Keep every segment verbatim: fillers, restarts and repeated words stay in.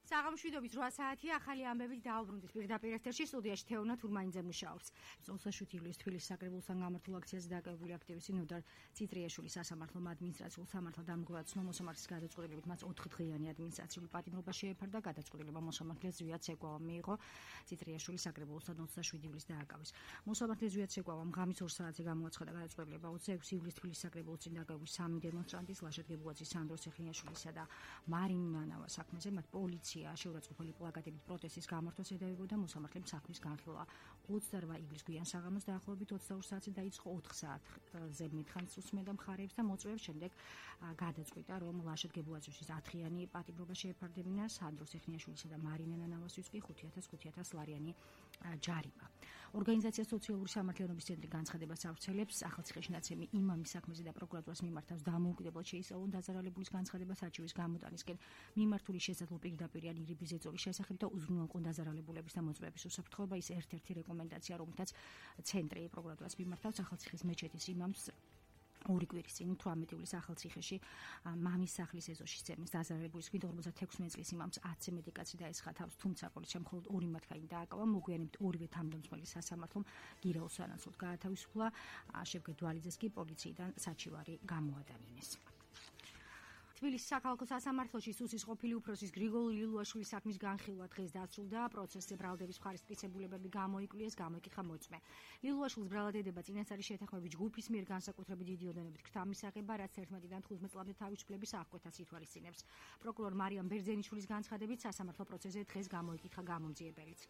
საღამოშვიდობის რვა საათია, ახალი ამბებით დაუბრუნდით. პირდაპირ ეთერში სტუდიაში თეონა თურმანიძე მუშაობს. ოცდაშვიდი ივლისის თბილისის საკრებულოსთან გამართულ აქციაზე დაკავებული აქტივისტი ნოდარ ციტრიაშვილის სასამართლომ ადმინისტრაციულ სამართალ დამკვირვებლად ცნო მოსამართლის გადაწყვეტილებით მას ოთხ დღიანი ადმინისტრაციული პატიმრობა შეეფარდა. გადაწყვეტილება მოსამართლეს ზვიად ცეკვავამ მიიღო. ციტრიაშვილი საკრებულოსთან ოცდაშვიდი ივლისს დააკავეს. მოსამართლეს ზვიად ცეკვავამ ღამის ორ საათზე გამოაცხადა გადაწყვეტილება ოცდაექვსი ივლისის თბილისის საკრებულოს წინ დაკავებული სამი დემონსტრანტის ლაშად გებუაძის, სანდრო ციხნიაშვილისა და მარინ მანავა საქმეზე მათ პოლიცია შეურაცხმყოფელი პლაკატებით პროტესტის გამართვას ედავებოდა. მოსამართლემ საქმის განხილვა ოცდარვა ივლისს გვიან საღამოს დაახლოებით ოცდაორ საათზე დაიწყო. ოთხ საათზე მითხანს უსმენდა მხარეებს და მოწვევებს. შემდეგ გადაწყვიტა, რომ ლაშად გებუაძის ათღიანი პატიმრობა შეეფარდებინა. სანდრო ციხნიაშვილისა და მარინ მანავასთვის კი ხუთი ათას ხუთი ათას ლარიანი ჯარიმა. ორგანიზაცია სოციალური სამართლიანობის ცენტრი განცხადებას ავრცელებს. ახალციხეში ნაცემი იმამის საქმეზე და პროკურატურას მიმართავს დამოუკიდებლად შეისწავლონ დაზარალებულის განცხადებას არჩევის გამოტანისკენ მიმართული შესაძლო პირდაპირ ირიბის ზეწოლის შესახებ და უზრუნველყო დაზარალებულების და მოწვევების უსაფრთხოება. ის ერთ-ერთი რეკომენდაცია, რომელთაც ცენტრი პროკურატურას მიმართავს ახალციხის მეჩეთის იმამს ორი კვირის წინ თვრამეტი ივლისს ახალციხეში მამის სახლის ეზოში ძემეს დაზარალებულის გვინდა ორმოცდათექვსმეტ წლის იმამს ათზე მეტი კაცი დაესხა თავს, თუმცა პოლიციამ მხოლოდ ორი მათგანი დააკავა. მოგვიანებით ორივე თავმდამსხმელი სასამართლომ გირა უსანაცვლოდ გაათავისუფლა. შევგეთ დვალიძეს კი პოლიციიდან საჩივარი გამოადანინეს. თბილისის საქალაქო სასამართლოში სუსის ყოფილი უფროსის გრიგოლ ლილუაშვილის საქმის განხილვა დღეს დასრულდა. პროცესზე ბრალდების მხარის მტკიცებულებები გამოიკვლიეს, გამოიკითხა მოწმე. ლილუაშვილის ბრალადება წინასწარი შეთანხმების ჯგუფის მიერ განსაკუთრებით დიდი ოდენობით ქრთა მისაღება, რაც ერთმანეთიდან თხუთმეტ წლამდე თავისუფლების აღკვეთას ითვალისწინებს. პროკურორ მარიამ ბერძენიშვილის განცხადებით სასამართლო პროცესზე დღეს გამოიკითხა გამომძიებელიც.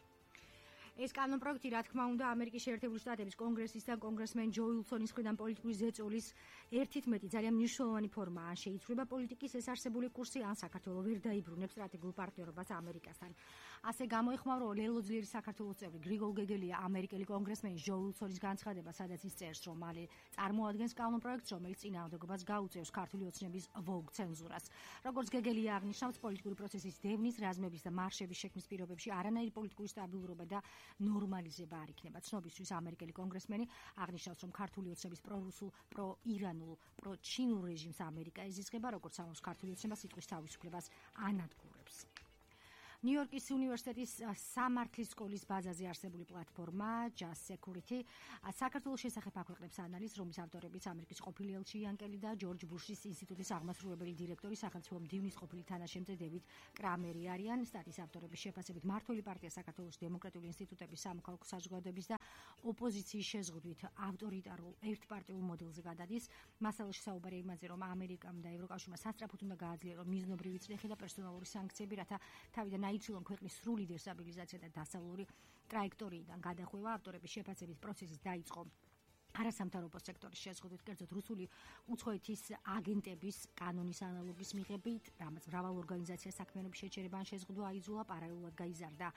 ეს კანონპროექტი, რა თქმა უნდა, ამერიკის შეერთებული შტატების კონგრესისთან კონგრესმენ ჯო უილსონის მხრიდან პოლიტიკური ზეწოლის ერთით მეტი ძალიან მნიშვნელოვანი ფორმაა. შეიცვლება პოლიტიკის ეს არსებული კურსი, ან საქართველოს ვერ დაიბრუნებს სტრატეგიულ პარტნიორობას ამერიკასთან. ასე გამოეხმაურა ლელოძლიერი საქართველოს წევრი გრიგოლ გეგელია ამერიკელი კონგრესმენის ჯო უილსონის განცხადება, სადაც ის წერს, რომ მალე წარმოადგენს კანონპროექტს, რომელიც წინააღმდეგობას გაუწევს ქართული ოცნების ვოგ ცენზურას. როგორც გეგელია აღნიშნავს, პოლიტიკური პროცესის დევნის, რაზმების და მარშების შექმნის პირობებში არანაირი პოლიტიკური სტაბილურობა და ნორმალიზება არ იქნება. ცნობისთვის ამერიკელი კონგრესმენი აღნიშნავს, რომ ქართული ოცნების პრორუსულ, პროირანულ, პროჩინურ რეჟიმს ამერიკა ეზიზღება, როგორც ამბობს ქართული ოცნება სიტყვის თავისუფლებას ანადგურებს. ნიუ-იორკის უნივერსიტეტის სამართლის სკოლის ბაზაზე არსებული პლატფორმა Just Security საქართველოს შესახებ აქვეყნებს ანალიზს, რომლის ავტორებიც ამერიკის ყოფილი ელჩი იანკელი და ჯორჯ ბუშის ინსტიტუტის აღმასრულებელი დირექტორი, სახელმწიფო მდივნის ყოფილი თანაშემწე დევიდ კრამერი არიან. სტატიის ავტორების შეფასებით მმართველი პარტია საქართველოს დემოკრატიული ინსტიტუტების, სამოქალაქო საზოგადოების და ოპოზიციის შეზღუდვით ავტორიტარულ ერთპარტიულ მოდელზე გადადის. მასალაში საუბარია იმაზე, რომ ამერიკამ და ევროკავშირმა სასწრაფოდ უნდა გააძლიერონ მიზნობრივი წრეხი და პერსონალური სანქციები, რათა თავიდან აიცილონ ქვეყნის სრული დესტაბილიზაცია და დასავლური ტრაექტორიიდან გადახვევა. ავტორების შეფასებით პროცესის დაიწყო არასამთავრობო სექტორის შეზღუდვით, კერძოდ რუსული უცხოეთის აგენტების კანონის ანალოგის მიღებით, რამაც მრავალ ორგანიზაციას საქმიანობის შეჩერება ან შეზღუდვა აიძულა, პარალელურად გაიზარდა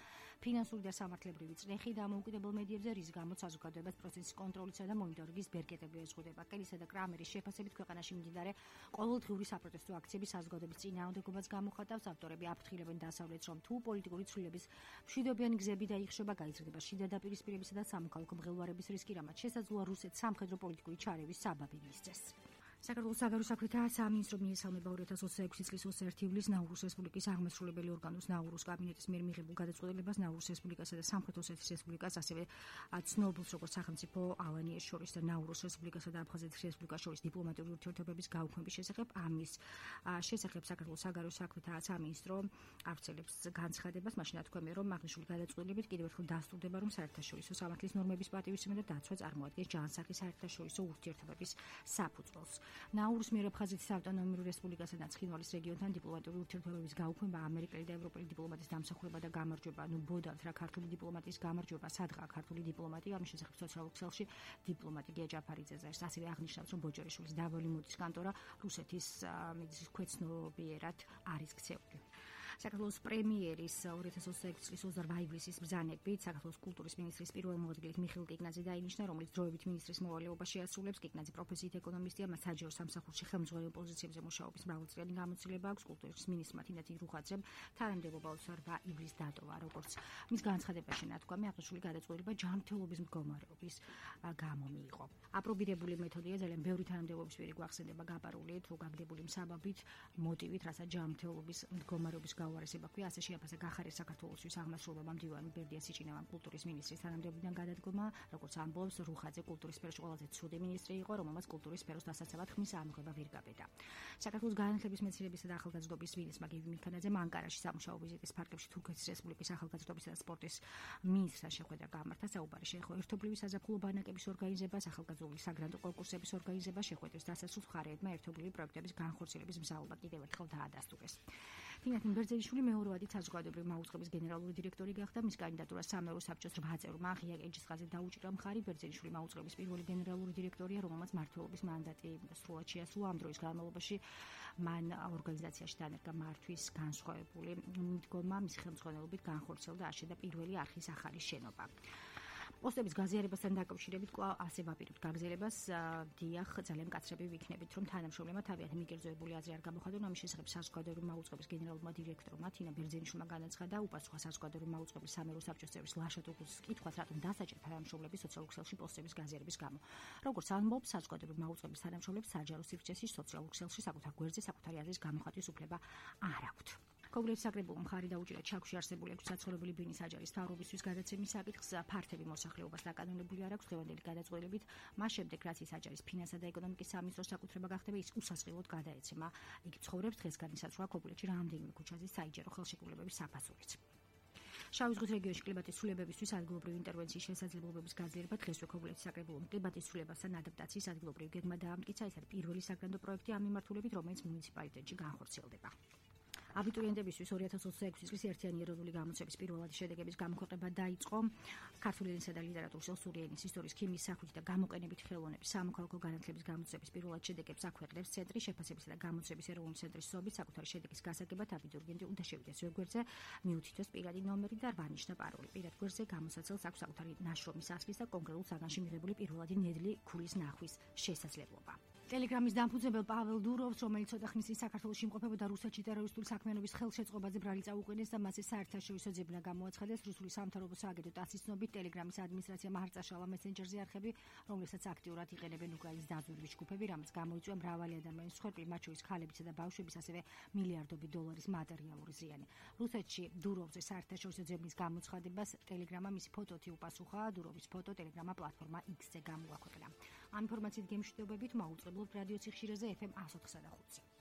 ფინანსური და სამართლებრივი წნეხი დამოუკიდებელ მედიებზე, რის გამოც საზოგადოებას პროცესის კონტროლისა და მონიტორინგის ბერკეტები ეზღუდება. კელისა და კრამერის შეფასებით ქვეყანაში მიმდინარე ყოველდღიური საპროტესტო აქციების საზოგადოების წინააღმდეგობას გამოხატავს. ავტორები აფრთხილებენ დასავლეთს, რომ თუ პოლიტიკური ცვლილებების მშვიდობიანი გზები დაიხშება, გაიზრდება შიდა დაპირისპირებისა და სამოქალაქო მღელვარების რისკი, რამაც შესაძლოა რუსეთს სამხედრო პოლიტიკური ჩარევის საბაბი მისცეს. საქართველოს საგარეო საქმეთა სამინისტრო მიესალმება ორი ათას ოცდაექვსი წლის ოცდაერთი ივლისს ნაურუს რესპუბლიკის აღმასრულებელი ორგანოს ნაურუს კაბინეტის მიერ მიღებულ გადაწყვეტილებას ნაურუს რესპუბლიკასა და სამხრეთ ოსეთის რესპუბლიკას, ასევე ცნობილს როგორც სახელმწიფო ალანიას შორის და ნაურუს რესპუბლიკასა და აფხაზეთის რესპუბლიკას შორის დიპლომატიური ურთიერთობების გაუქმების შესახებ. ამის შესახებ საქართველოს საგარეო საქმეთა სამინისტრო ავრცელებს განცხადებას, მაშინ ათქვამია, რომ აღნიშნული გადაწყვეტილებით კიდევ ერთხელ დასტურდება, რომ საერთაშორისო სამართლის ნორმების პატივისცემა და დაცვა წარმოადგენს ჯანსაღი საერთაშორისო ურთიერთობების საფუძველს. ნაურუს მიერ აფხაზეთის ავტონომიურ რესპუბლიკასა და ცხინვალის რეგიონთან დიპლომატიური ურთიერთობების გაუქმება, ამერიკელი და ევროპელი დიპლომატის დამსახურება და გამარჯვება. ნუ ბოდავთ რა ქართული დიპლომატიის გამარჯვება, სადღა ქართული დიპლომატია, ამის შესახებ სოციალურ ქსელში დიპლომატი გია ჯაფარიძეზე ასევე აღნიშნავს, რომ ბოჯორიშვილის დაბალი მოდის კანტორა რუსეთის მედიის ქვეცნობიერად არის ქცეული. საქართველოს პრემიერის ორი ათას ოცდაექვსი წლის ოცდარვა ივლისის ბრძანებით საქართველოს კულტურის მინისტრის პირველ მოადგილედ მიხეილ კიკნაძე დაინიშნა, რომელიც დროებით მინისტრის მოვალეობა შეასრულებს. კიკნაძე პროფესიით ეკონომისტია, მას საჯარო სამსახურში ხელმძღვანელ პოზიციებზე მუშაობის მრავალწლიანი გამოცდილება აქვს. კულტურის მინისტრმა თინათინ რუხაძემ თანამდებობა ოცდაორვა ივლისს დატოვა. როგორც მის განცხადებაში ნათქვამი, აღნიშნული გადაწყვეტილება ჯანმრთელობის მდგომარეობის გამო მიიღო. აპრობირებული მეთოდია, ძალიან ბევრი თანამდებობის პირი გვახსენდება გაპარული თუ გაგდებული მსაბაბით, მოტივით, რასაც ჯანმრთელობის მდგომარეობის გაუარესება ქვია, ასე შეაფასა გახარეს საქართველოსთვის აღმასრულებამ მდივანი ბერდია სიჭინავამ კულტურის მინისტრის თანამდებობიდან გადადგომა, როგორც ამბობს რუხაძე კულტურის სფეროში ყველაზე ცუდი მინისტრი იყო, რომელმაც კულტურის სფეროს დასაცავად ხმის ამოღება ვერ გაბედა. საქართველოს განათლების მეცნიერებისა და ახალგაზრდობის მინისტრმა გივი მიქანაძემ ანკარაში სამუშაო ვიზიტის ფარგლებში თურქეთის რესპუბლიკის ახალგაზრდობისა და სპორტის მინისტრთან შეხვედრა გამართა. საუბარი შეეხო ერთობლივი საზაფხულო ბანაკების ორგანიზებას, ახალგაზრდული საგრანტო კონკურსების ორგანიზებას, შეხვედრის დასასრულს მხარეებმა ერთობლივი პროექტების განხორციელების მზაობა კიდევ ერთხელ დაადასტურეს. თინათინ ბერძენიშვილი მეორევადი საზოგადოებრივი მაუწყების გენერალური დირექტორი გახდა. მის კანდიდატურას სამეურვე საბჭოს რვა წევრმა ღია კენჭისყრაზე დაუჭირა მხარი. ბერძენიშვილი მაუწყების პირველი გენერალური დირექტორია, რომელმაც მმართველობის მანდატი სრულად შეასრულა. ამ დროის განმავლობაში მან ორგანიზაციაში დანერგა მართვის განსხვავებული მიდგომა, მის ხელმძღვანელობით განხორციელდა აშენდა პირველი არხის ახალი შენობა. პოსტების გაზიარებასთან დაკავშირებით კვლავ ასე ვაპირებთ გაგზელებას. დიახ, ძალიან მკაცრები ვიქნებით, რომ თანამშრომლებმა თავიანთი მიგერძოებული აზრი არ გამოხადონ. ამის შესახებ საზოგადოებრივი მაუწყების გენერალურმა დირექტორმა თინა ბერძენიშვილმა განაცხადა, უპასუხა საზოგადოებრივი მაუწყების სამეურვე საბჭოს წევრის ლაშა ტუგუს კითხვას, რატომ დასაჭერა თანამშრომლების სოციალურ ქსელში პოსტების გაზიარების გამო. როგორც ამბობს, საზოგადოებრივი მაუწყების თანამშრომლებს საჯარო სივრცეში სოციალურ ქსელში საკუთარ გვერდზე საკუთარი აზრის გამოხატვის უფლება არ აქვთ. კოგლერის საკრებულომ მხარი დაუჭირა ჩაქვში არსებული ექვსი საცხოვრებელი ბინის აჯარის მთავრობისთვის გადაცემის საკითხს. ფართები მოსახლეობას დაკანონებული არ აქვს. დღევანდელი გადაწყვეტილებით მას შემდეგ, რაც ის აჯარის ფინანსა და ეკონომიკის სამინისტროს საკუთრება გახდება, ის უსასყიდლოდ გადაეცემა. იგი ცხოვრობს დღეს განისაზღვრა კოგლეთში რამდენიმე ქუჩაზე საიჯარო ხელშეკრულებების საფასურით. შავი ზღვის რეგიონში კლიმატის ცვლილებებისთვის ადგილობრივი ინტერვენციის შესაძლებლობების გაძლიერება დღესვე კოგლეთის საკრებულომ კლიმატის ცვლილებასთან ადაპტაციის ადგილობრივი გეგმა დაამტკიცა. ეს არის პირველი საგრანდო პროექტი ამ მიმართულებით, რომელიც მუნიციპალიტეტში განხორციელდება. აბიტურიენტებისთვის ორი ათას ოცდაექვსი წლის ერთიანი ეროვნული გამოცემის პირველადი შედეგების გამოქვეყნება დაიწყო. ქართული ენისა და ლიტერატურის, ოსური ენის, ისტორიის, ქიმიის, სახვით და გამოყენებითი ხელოვნების სამოქალაქო განათლების გამოცემის პირველად შედეგებს აქვეყნებს ცენტრი. შეფასებისა და გამოცემის ეროვნული ცენტრის სობით საკუთარი შედეგის გასაგებად აბიტურიენტი უნდა შევიდეს ვებგვერდზე, მიუთითოს პირადი ნომერი და რვანიშნა პაროლი. პირად გვერდზე გამოსაცელს აქვს საკუთარი ნაშრომის ასლის და კონკრეტულ საგანში მიღებული პირველადი ნედლი ქულის ნახვის შესაძლებლობა. ტელეგრამის დამფუძნებელ პაվել დუროვს, რომელიც ცოტა ხნის წინ საქართველოში იმყოფებოდა, რუსეთში ტერორისტული საქმიანობის ხელშეწყობაზე ბრალი წაუყენეს და მასზე საერთაშორისო ძებნა გამოაცხადეს. რუსული სამთავრობო სააგენტო ტასის ცნობით, ტელეგრამის ადმინისტრაციამ არ წაშალა მესენჯერზე არხები, რომლებსაც აქტიურად იყენებენ უკრაინის დაძვრების ჯგუფები, რამაც გამოიწვია მრავალი ადამიანის მსხვერპლი, მათ შორის ქალებისა და ბავშვების, ასევე მილიარდობით დოლარის მატერიალური ზიანი. რუსეთში დუროვზე საერთაშორისო ძებნის გამოცხადებას ტელეგრამა მისი ფოტოთი უპასუხა. დუროვის ფოტო ტელეგრამა პლატფორმა X-ზე გამოაქვეყნა. ამ ინფორმაციით გემშვიდობებით მაუწყებლობთ რადიო ციხშირეზე ეფ ემ ათს ოცდაოთხსა და ხუთზე.